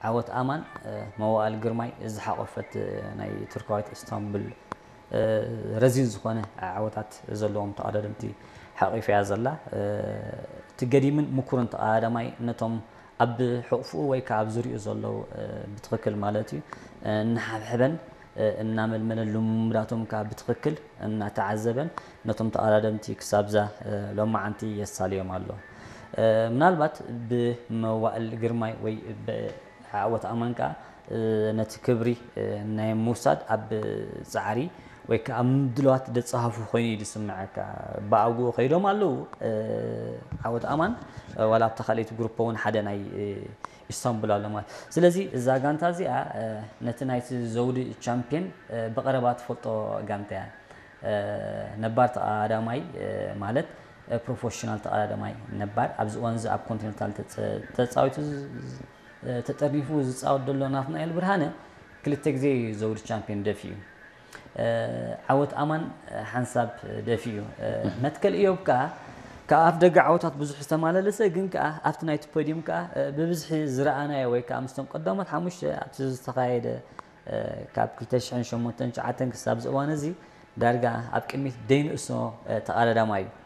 ዓወት ኣማን መዋእል ግርማይ ዝሓቆፈት ናይ ቱርካዊት ኢስታንቡል ረዚን ዝኾነ ዓወታት ዘለዎም ተቐዳደምቲ ሓቂፋ እያ ዘላ። እቲ ገዲምን ምኩርን ተቐዳዳማይ ነቶም ኣብ ሕቑፍኡ ወይ ከዓ ኣብ ዙሪኡ ዘለዉ ብትኽክል ማለት እዩ እናሓብሐበን እናመልመለን ልምምዳቶም ከዓ ብትኽክል እናተዓዘበን ነቶም ተቐዳደምቲ ክሳብዛ ሎማዓንቲ የሳልዮም ኣሎ። ምናልባት ብመዋእል ግርማይ ወይ ዓወት ኣማን ከዓ ነቲ ክብሪ ናይ ምውሳድ ኣብ ጻዕሪ ወይ ከዓ ምድለዋት ደጻሃፉ ኮይኑ እዩ ዝስምዐካ። ብኣግኡ ከይዶም ኣለዉ ዓወት ኣማን ዋላ ኣብታ ካልኣይቲ ግሩፕ እውን ሓደ ናይ ኢስታንቡል ኣሎ ማለት። ስለዚ እዛ ጋንታ እዚኣ ነቲ ናይቲ ዘውዲ ቻምፒየን ብቐረባ ትፈልጦ ጋንታ እያ። ነባር ተቐዳዳማይ ማለት ፕሮፌሽናል ተቐዳዳማይ ነባር ኣብዚ እዋን እዚ ኣብ ኮንቲኔንታል ተፃዊቱ ተጠርኒፉ ዝፃወት ዘሎ ናትናኤል ብርሃነ ክልተ ግዜ ዘውዲ ቻምፒዮን ደፊኡ። ዓወት ኣማን ሓንሳብ ደፊኡ። መትከል እዮብ ከዓ ካብ ኣፍ ደገ ዓወታት ብዙሕ ዝተማላለሰ ግን ከዓ ኣብቲ ናይቲ ፖዲየም ከዓ ብብዝሒ ዝረኣናዮ ወይ ከዓ ምስቶም ቀዳሞት ሓሙሽተ ኣብቲ ዝተኻየደ ካብ ክልተ ሽሕን ሸሞንተን ትሽዓተን ክሳብ እዚ እዋን እዚ ዳርጋ ኣብ ቅድሚት ደይንእሶ ተቐዳዳማይ እዩ።